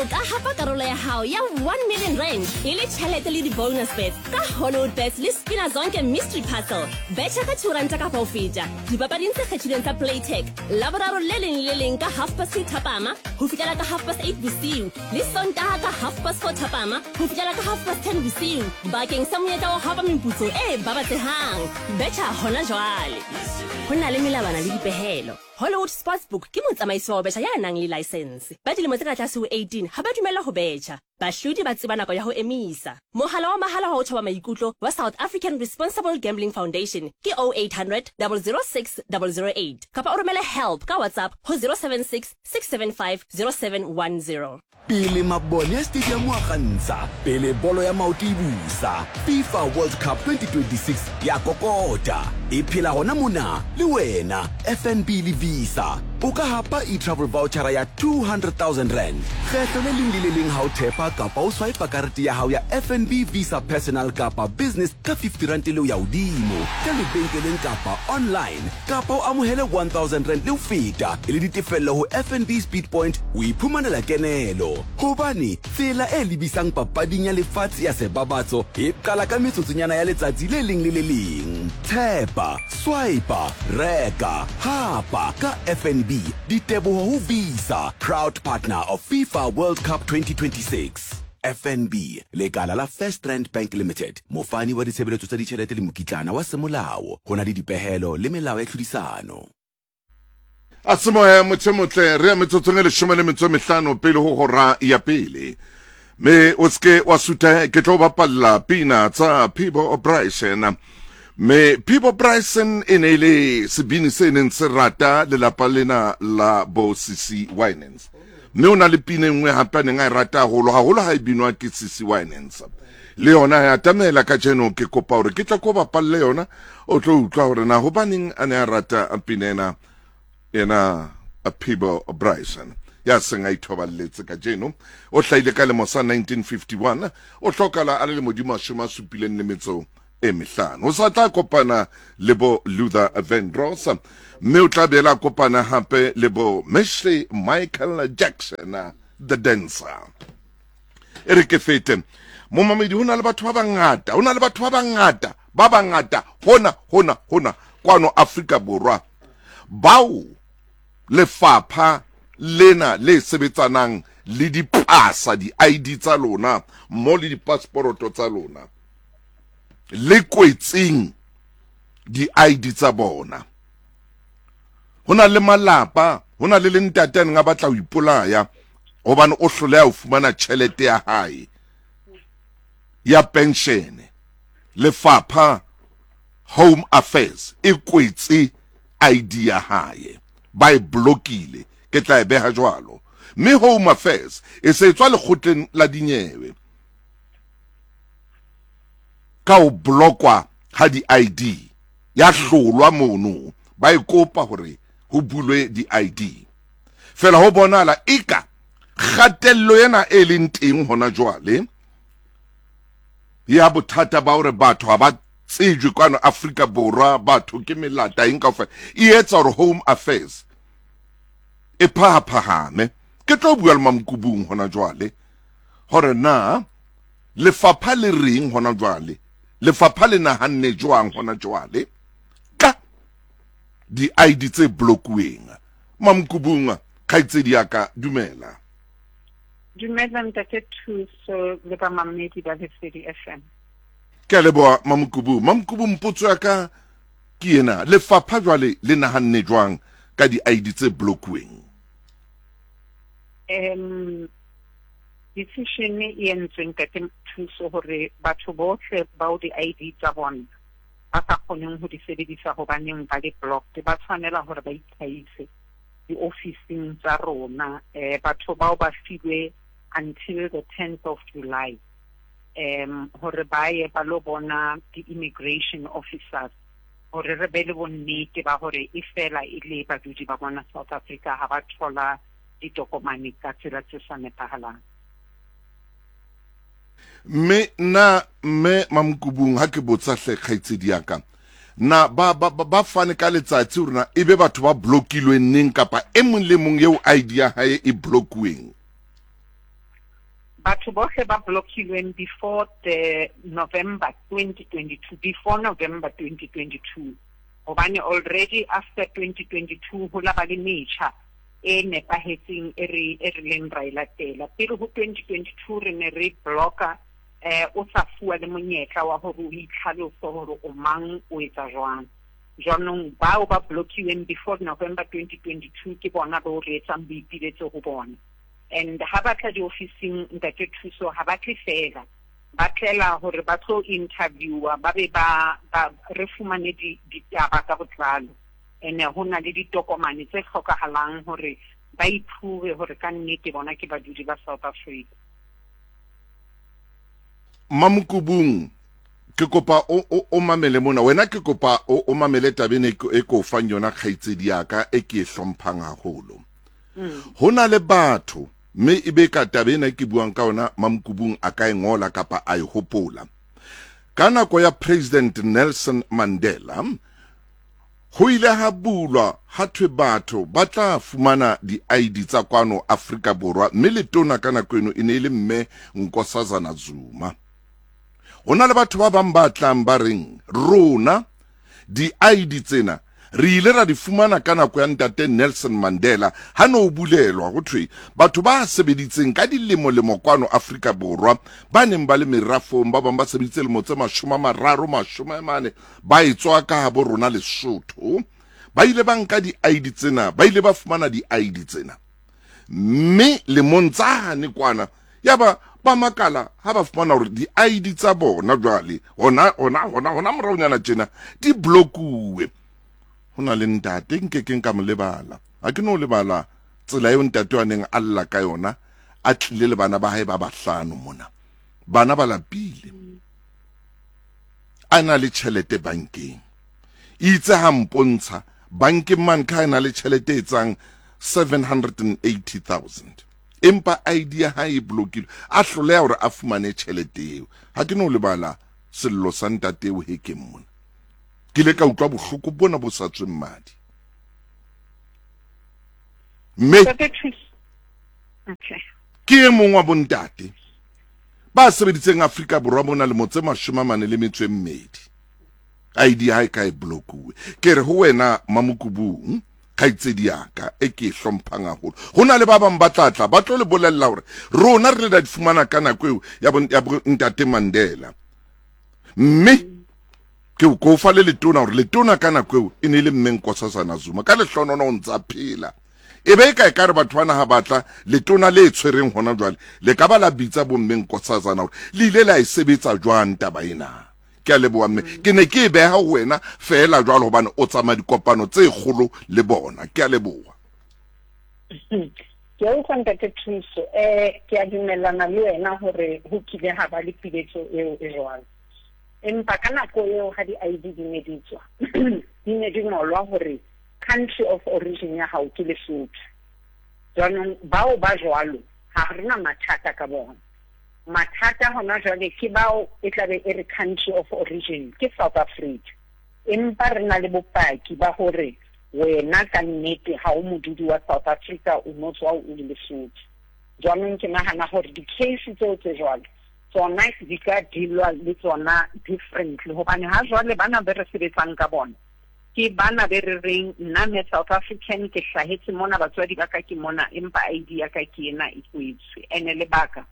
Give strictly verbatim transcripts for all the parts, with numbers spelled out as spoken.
O ka hapa karolo ya hao ya one million rand e le tjhelete le di-bonus bets ka Hollywood Bets le Spina Zonke Mystery Puzzle. Betjha ka two ranta kapa ho feta dipapading tse kgethilweng tsa Playtech Laboraro le leng le le leng ka half past two thapama ho fihlela ka half past eight bosiu, le Sontaha ka half past four thapama ho fihlela ka half past ten bosiu, bakeng sa monyetla wa ho hapa meputso e babatsehang. Betjha hona jwale. Ho na le melawana le dipehelo. Hollywood Sportsbook ke motsamaisi wa ho betjha ya nang le license. Ba dilemo tse ka tlase ho eighteen ha ba dumellwa ho betjha. Bahlodi ba tseba nako ya ho emisa. Mohala wa mahala wa ho thoba maikutlo wa South African Responsible Gambling Foundation ke oh eight hundred double zero six double zero eight kapa o romele help ka WhatsApp ho zero seven six six seven five zero seven one zero. Pele mabone a stadium a kgantsha, pele bolo ya maoto e busa, FIFA World Cup twenty twenty-six ya kokota. E phela hona mona le wena, F N B le Visa. O ka hapa e-travel voucher ya two hundred thousand rand. Kgetho le leng le le leng ha o thepa kapa o swipe karete ya hao ya F N B Visa Personal kapa Business ka fifty rand le ho ya hodimo, ka lebenkeleng kapa online, kapa o amohele one thousand rand le ho feta e le ditefello ho F N B Speed Point, o iphumanela kenelo. Hobane tsela e lebisang papading ya lefatshe ya sebabatso e qala ka metsotsonyana ya letsatsi le leng le le leng. Tshepa, swipe, reka, hapa ka F N B. Diteboho ho Visa, proud partner of FIFA World Cup twenty twenty-six. F N B, lekala la First Rand Bank Limited, mofani wa ditshebeletso tsa ditjhelete le mokitlana wa semolao, ho na le dipehelo le melao ya tlhodisano. A semoya motho motle re ya metsotsong e leshome le metso e mehlano pele ho hora ya pele. Me o ske wa sutha, ke tlo bapalla pina tsa Peabo Bryson. Me Peabo Bryson e ne le sebini se neng se rata lelapa lena la bo Cece Winans. Mme o na le pina e nngwe hape a neng a e rata haholo, haholo ha e binwa ke Cece Winans. Le yona ya atamela kajeno, ke kopa hore ke tla ko bapalle yona, o tlo utlwa hore na hobaneng a ne a rata pina ena, ena Peabo Bryson ya seng a ithoballetse kajeno. O hlahile ka lemo sa nineteen fifty-one, o hlokala a le lemo di mashome a supileng le metso e mehlano. O sa tla kopana le bo Luther Vandross, mme o tla boela kopana hape le bo Meshley Michael Jackson, the dancer. E re ke fete momamedi, ho na le batho ba bangata, ho na le batho ba bangata, ba bangata hona hona hona kwano Afrika Borwa bao lefapha lena le sebetsanang le dipasa, di-I D tsa lona mmoho le dipasporoto tsa lona, le kwetseng di-I D tsa bona. Ho na le malapa, ho na le le ntate a neng a batla ho ipolaya hobane o hloleha ho fumana tjhelete ya hae ya pension. Lefapha Home Affairs e kwetse I D ya hae, ba e blokile, ke tla e beha jwalo. Mme Home Affairs e se tswa lekgotleng la dinyewe ka ho blokwa ha di-I D, ya hlolwa mono, ba e kopa hore ho bulwe di-I D. Fela ho bonahala eka kgatello ena e leng teng hona jwale ya bothata ba hore batho ha ba tsejwe kwano Afrika Borwa, batho ke melata eng kaofela, e etsa hore Home Affairs e phahaphahame. Ke tlo bua le Mamkubung hona jwale hore na lefapha le reng hona jwale, lefapha le nahanne jwang hona jwale ka di-I D tse blokuweng. Mamkubung, kgaitsedi ya ka, dumela. Dumela ntate Thuso le bamamedi ba Lesedi F M. Ke a leboha Mamkubu. Mamkubu, mpotso ya ka ke ena, lefapha jwale le nahanne jwang ka di-I D tse blokuweng? Um, decision e entswe ntate Thuso hore batho bohle bao di-I D tsa bona ba sa kgoneng ho di sebedisa hobaneng ba le blocked, ba tshwanela hore ba itlhahise diofising tsa rona. Eh, batho bao ba filwe until the tenth of July um hore ba ye ba lo bona di-immigration officers hore re be le bonnete ba hore e fela e le badudi ba mona South Africa ha ba thola ditokomane ka tsela tse sa nepahalang. Mme na mme Mamkubung, ha ke botsa hle kgaitsedi ya ka, na ba ba ba fane ka letsatsi hore na ebe batho ba blokilweng neng kapa e mong le mong eo I D ya hae e blokuweng? Batho bohle ba blockilweng before the November twenty twenty-two, before November twenty twenty-two. Hobane already after twenty twenty-two ho la ba le metjha e nepahetseng e re e re leng ra e latela. Pele ho twenty twenty-two re ne re blocka eh o sa fuwa le monyetla wa hore o itlhalose hore o mang o etsa jwang. Jwanong bao ba blockiweng before November twenty twenty-two ke bona bo re etsang boipiletso ho bona. And ha ba tla diofising ntate Thuso ha ba tle fela, ba tlela hore ba tlo interviewa ba be ba re fumane ditaba ka botlalo. Ene ho na le ditokomane tse hlokahalang hore ba iprove hore ka nnete bona ke badudi ba South Africa. Mamukubung, ke kopa o o o mamele mona wena, ke kopa o o mamele tabeng e ko fang yona kgaitsedi ya ka e ke e hlomphang haholo. Ho na le batho mme e be ka taba ena ke buang ka yona Mamukubung a ka e ngola kapa a e hopola. Ka nako ya President Nelson Mandela ho ile ha bulwa ha thwe batho ba tla fumana di-I D tsa kwano Afrika Borwa, mme letona ka nako eno e ne e le mme Nkosazana Zuma. Ho na le batho ba bang ba tlang ba reng rona di-I D tsena re ile ra di fumana ka nako ya ntate Nelson Mandela ha no bulelwa ho thwe batho ba sebeditseng ka dilemo-lemo kwano Afrika Borwa ba neng ba le merafong, ba bang ba sebeditse lemo tse mashome a mararo mashome a mane ba etswa ka habo rona Lesotho, ba ile ba nka di-I D tsena, ba ile ba fumana di-I D tsena mme lemong tsane kwana yaba ba makala ha ba fumana hore di-I D tsa bona jwale hona hona hona hona moraonyana tjena di blokuwe. Ho na le ntate nke ke nka mo lebala, ha ke no lebala tsela eo ntate wa neng a lla ka yona a tlile le bana ba hae ba bahlano mona, bana ba lapile, a na le tjhelete bankeng, itse ha mpontsha bankeng man ka na le tjhelete e tsang seven hundred and eighty thousand, empa I D ya hae e blokilwe, a hloleha hore a fumane tjhelete eo. Ha ke no lebala sello sa ntate eo hekeng mona, ke ile ka utlwa bohloko bona bo sa tsweng madi. Mme ke e mong wa bontate ba sebeditseng Afrika Borwa mona lemo tse mashome a mane le metso e mmedi, I D ha e ka e blokuwe. Ke re ho wena Mamukubung kgaitsedi ya ka e ke e hlomphang haholo, ho na le ba bang ba tla tla ba tlo le bolella hore rona re le da di fumana ka nako eo ya ntate Mandela, mme ke o kofa le letona hore letona ka nako eo e ne le mme Nkosazana Zuma, ka lehlonono o ntsa phela. E be ka e ka re batho bana ha batla letona le tshwereng hona jwale le ka ba la bitsa bo mme Nkosazana hore le ile la e sebetsa jwang taba ena. Ke a leboha mme, ke ne ke e beha ho wena feela jwalo hobane o tsamaya dikopano tse kgolo le bona. Ke a leboha. Ke a utlwa ntate Thuso, eh ke a dumellana le wena hore ho kile ha ba le piletso eo e jwalo. Empa ka nako eo ha di-I D di ne di tswa, di ne di ngolwa hore country of origin ya hao ke Lesotho. Jwanong bao ba jwalo ha re na mathata ka bona. Mathata hona jwale ke bao e tlabe e re country of origin ke South Africa, empa re na le bopaki ba hore wena ka nnete ha o modudi wa South Africa, o no tswa o le Lesotho. Jwanong ke nahana hore di-case tseo tse jwalo tsona di ka dealwa le tsona differently, hobane ha jwale bana be re sebetsang ka bona ke bana be re reng nna me South African, ke hlahetse mona, batswadi ba ka ke mona, empa I D ya ka ke ena e kwetswe. Ene lebaka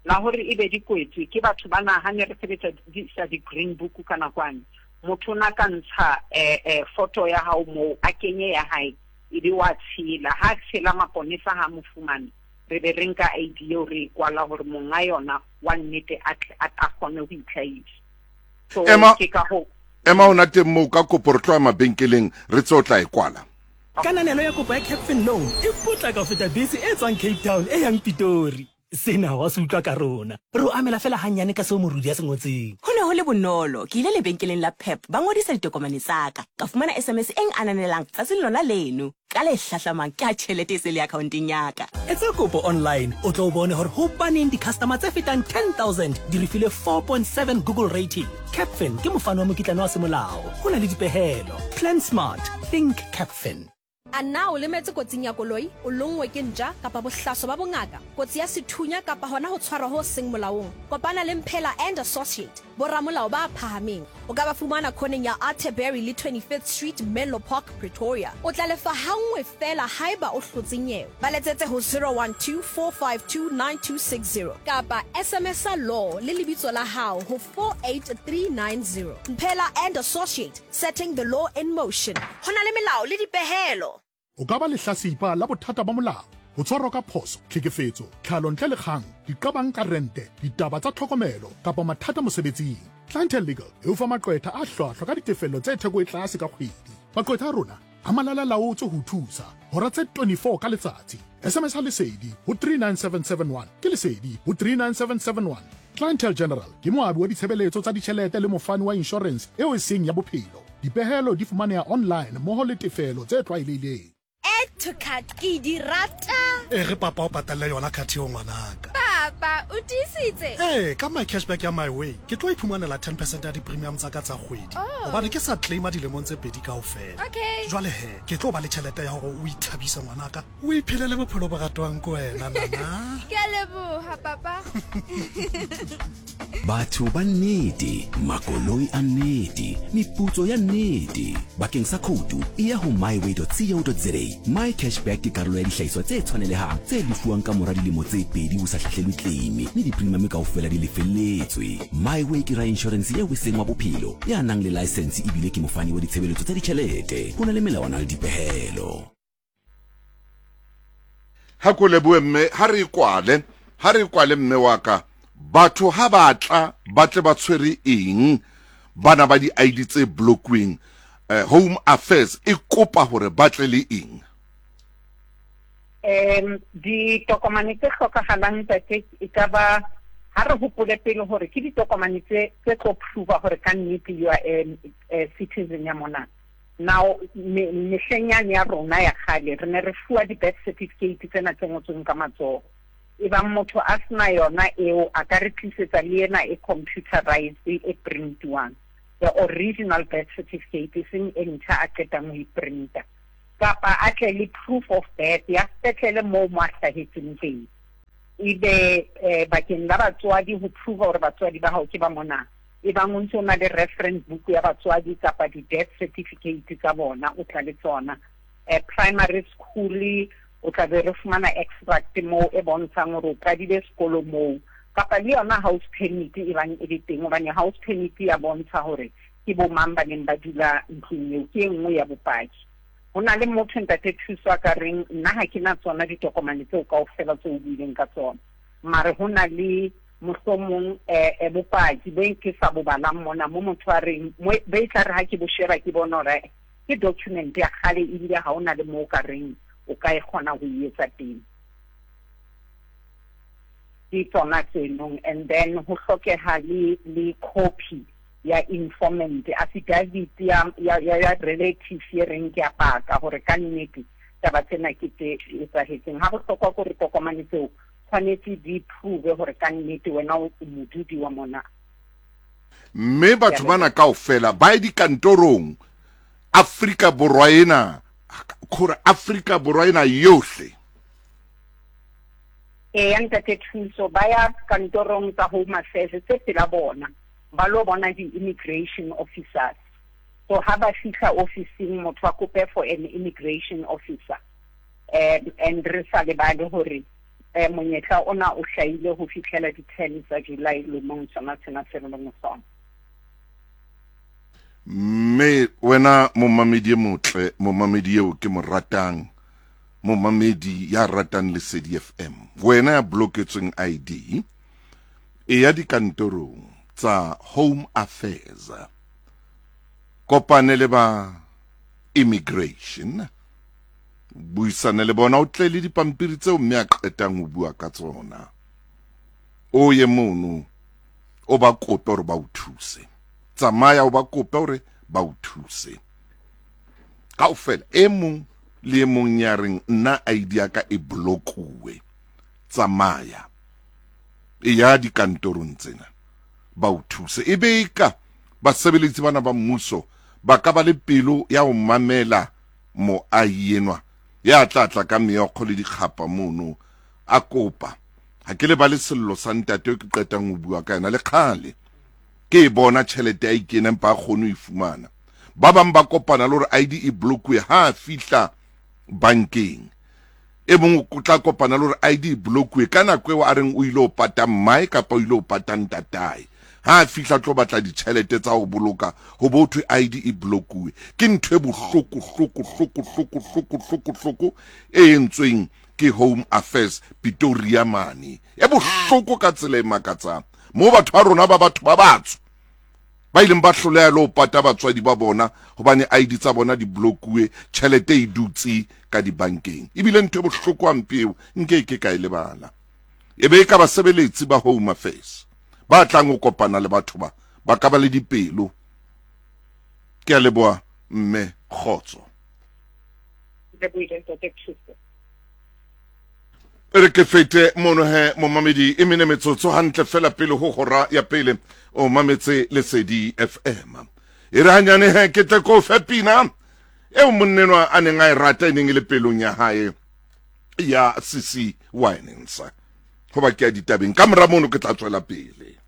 la hore e be di kwetswe ke batho bana ha ne re sebetsa sa di-green book ka nakwane, motho na ka ntsha eh, eh, photo ya hao moo a kenye ya hae e be wa tshela, ha tshela maponesa ha mo fumane, re be re nka I D eo re e kwala hore monga yona wa nnete a a kgone ho itlhahisa. So ke ka ho ema hona teng moo ka kopo re tloha mabenkeleng re tse o tla e kwala. Kananelo ya kopo ya Capfin Loan e potlaka ho feta bese e tswang Cape Town e yang Pitori. Sena wa se utlwa ka rona, re o amela fela hanyane ka seo morudi a se ngotseng. Ho ne ho le bonolo, ke ile lebenkeleng la Pep ba ngodisa ditokomane tsa ka, ka fumana S M S e ananelang tsatsing lona leno. Ka le hlahlamang ke ha tjhelete e se le accounteng ya ka. Etsa kopo online o tlo bone hore hobaneng di-customer tse fetang ten thousand di re file four point seven Google rating. Capfin ke mofano wa mokitlane wa semolao, ho na le dipehelo. Plan smart, think Capfin. A na o lemetse kotsing ya koloi, o lonngwe ke ntja kapa bohlaso ba bongaka, kotsi ya sethunya kapa hona ho tshwarwa ho seng molaong? Kopana le Mphela and Associate, boramolao ba phahameng. O ka ba fumana khoneng ya Atterbury le twenty-fifth Street, Menlo Park, Pretoria. O tla lefa hanngwe feela haeba o hlotse nyewe. Ba letsetse ho zero one two, four five two, nine two six zero kapa S M S law le lebitso la hao ho four eight three nine zero. Mphela and Associate, setting the law in motion. Ho na le melao le dipehelo. O ka ba lehlasipa la bothata ba molao, ho tshwarwa ka phoso, tlhekefetso, tlhalo ntle le kgang, diqabang ka rente, ditaba tsa tlhokomelo kapa mathata mosebetsing. Clientele Legal e o fa maqwetha a hlwahlwa ka ditefello tse theko e tlase ka kgwedi. Maqwetha a rona a malala laotswe ho thusa hora tse twenty-four ka letsatsi. S M S ha Lesedi ho three nine seven seven one ke Lesedi ho three nine seven seven one. Clientele General ke moabi wa ditshebeletso tsa ditjhelete le mofani wa insurance eo e seng ya bophelo. Dipehelo di fumaneha online mmoho le tefelo tse tlwaelehileng. Add to cart ke di rata. E re papa o patalle yona card eo ngwanaka. Papa o tiisitse? Eh, ka my cashback ya My Way ke tlo iphumanela ten percent ya di-premium tsa ka tsa kgwedi. Hobane ke sa claima dilemong tse pedi kaofela. Okay. Jwale he, ke tlo ba le tjhelete ya hore o ithabise ngwanaka. O iphelele bophelo bo ratwang ke wena nana. Ke a leboha papa. Batho ba nnete, makoloi a nnete, meputso ya nnete. Bakeng sa khoutu e ya ho myway dot co dot za. My Cashback ke karolo ya dihlahiswa tse tshwanelehang tse lefuwang ka mora dilemo tse pedi ho sa hlahlelwe claim, mme di-premium kaofela di lefelletswe. MyWay ke ra insurance eo e seng wa bophelo, ya nang le license ebile ke mofani wa ditshebeletso tsa ditjhelete. Ho na le melawana le dipehelo. Ha ko lebohe mme, ha re kwale, ha re kwale mme wa ka. Batho ha ba tla ba tle ba tshwere eng bana ba di I D tse blockweng, eh, Home Affairs e kopa hore ba tle le eng? Em ditokomane tse hlokahalang ntate e ka ba ha re hopole pele hore ke ditokomane tse tse tlo prove hore ka nnete you are a, a citizen ya mona. Now mehleng yane ya rona ya kgale re ne re fuwa di-birth certificate tsena tse ngotsweng ka matsoho. Ebang motho a sena yona eo a ka re tlisetsa le ena e computerized e printiwang, the original birth certificate e seng e ntjha a qetang ho e printa, kapa a tle le proof of birth ya sepetlele moo mo a hlahetseng teng. Ebe eh, bakeng la batswadi ho prove hore batswadi ba hao ke ba mona, ebang o ntse o na le reference book ya batswadi kapa di-death certificate tsa bona o tla le tsona. Eh, primary school o tla be re fumana extract moo e bontshang hore o qadile sekolo moo, kapa le yona house permit e bang e le teng, hobane house permit ya bontsha hore ke bo mang ba neng ba dula ntlong eo, ke e nngwe ya bopaki. Ho na le motho ntate Thuso a ka reng nna ha ke na tsona ditokomane tseo kaofela tseo o buileng ka tsona, mare ho na le mohlomong eh, bopaki bo ke sa bo balang mona mo motho a reng be e tla re ha ke bo sheba ke bona hore ke document ya kgale ebile ha ho na le moo o ka reng o ka e kgona ho e etsa teng. Ke tsona tsenong. And then ho hlokeha le le copy ya informant, affidavit ya ya ya relative e reng ke a paka hore ka nnete taba tsena ke tse etsahetseng. Ha bohlokwa hore tokomane tseo tshwanetse di prove hore ka nnete wena o modudi wa mona. Mme batho bana kaofela ba ye dikantorong Afrika Borwa ena, khore Afrika Borwa ena yohle. E ya ntate Thuso, ba ya kantorong tsa Home Affairs tse pela bona, ba lo bona di-immigration officers. So ha ba fihla officing motho a kope for an immigration officer. Um, and re sa lebale hore eh, monyetla ona o hlahile ho fihlela di-ten tsa July lemong sona sena se re leng sona. Mme wena momamedi e motle, momamedi eo ke mo ratang, momamedi ya ratang Lesedi F M, wena ya bloketsweng I D, e ya dikantorong tsa Home Affairs, kopane le ba immigration, buisane le bona, o tle le dipampiri tseo mme a qetang ho bua ka tsona. O ye mono o ba kope hore ba o thuse. Tsamaya o ba kope hore ba o thuse. Kaofela e mong le e mong ya reng nna I D ya ka e blokuwe, tsamaya e ya dikantorong tsena ba o thuse. E be ka basebeletsi bana ba mmuso ba ka ba le pelo ya ho mamela Moahi enwa ya tla tla ka meokgo le dikgapa mono a kopa. Ha ke lebale sello sa ntate ke qetang ho bua ka yena le kgale. Ke e bona tjhelete a ikena empa a kgone ho e fumana. Ba bang ba kopana le hore I D e blokuwe ha a fihla bankeng. E mong o tla kopana le hore I D e blokuwe ka nako eo a reng o ile ho pata mmae kapa o ile ho pata ntatae. Ha a fihla tlo batla ditjhelete tsa ho boloka ho bo thwe I D e blokuwe. Ke ntho e bohloko hloko hloko hloko hloko hloko hloko e entsweng ke Home Affairs Pretoria mane. E bohloko ka tsela e makatsang. Moo batho ba rona ba batho ba batsho ba ileng ba hloleha le ho pata batswadi ba bona hobane I D tsa bona di blokuwe, tjhelete e dutse ka dibankeng. Ebile ntho e bohloko hampe eo nke ke ka e lebala. E be e ka basebeletsi ba Home Affairs ba tlang ho kopana le batho ba ba ka ba le dipelo. Ke a leboha mme, kgotso. Re ke fete mono he momamedi e mene metsotso hantle fela pele ho hora ya pele o mametse Lesedi F M. E re hanyane he ke tle ko fe pina eo monnenwa a neng a e rata e neng e le pelong ya hae ya C C Winans. Hoba ke ya ditabeng ka mora mono ke tla tswela pele.